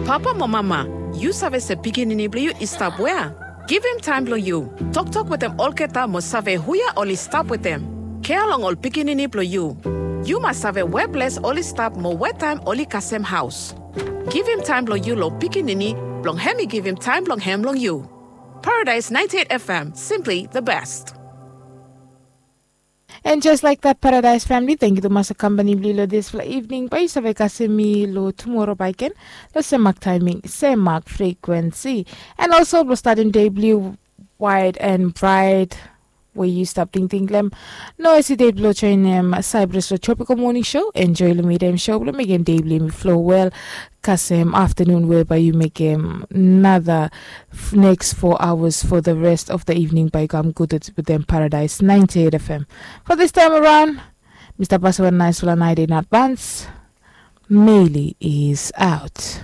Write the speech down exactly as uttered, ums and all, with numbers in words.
Papa mo mama, yu save se pikinini blong yu i stap wea? Givim taem blong yu. Toktok wetem olgeta mo save huia oli stap wetem. Kea long ol pikinini blong yu. Yu mas save we ples oli stap mo we taem oli kasem haos. Givim taem blong yu long pikinini blong hem i givim taem blong hem long yu. Paradise ninety-eight F M, simply the best. And just like that, Paradise family, thank you tumas for company blong yu long dispela evening. Bae yu save kasem mi long tumora bae gen long sem mak timing, sem mak frequency. And also blong statim dei blong yu wide and bright, we yu stap tingting long em. No hesitate blong joinim Cyprus long Tropical Morning Show. Enjoy long metem show blong mekim dei blong yumi flow well. Kasem afternoon, whereby you make another next four hours for the rest of the evening by Come Good with them Paradise ninety-eight F M. For this time around, Mister Basawan, nice one night in advance. Meili is out.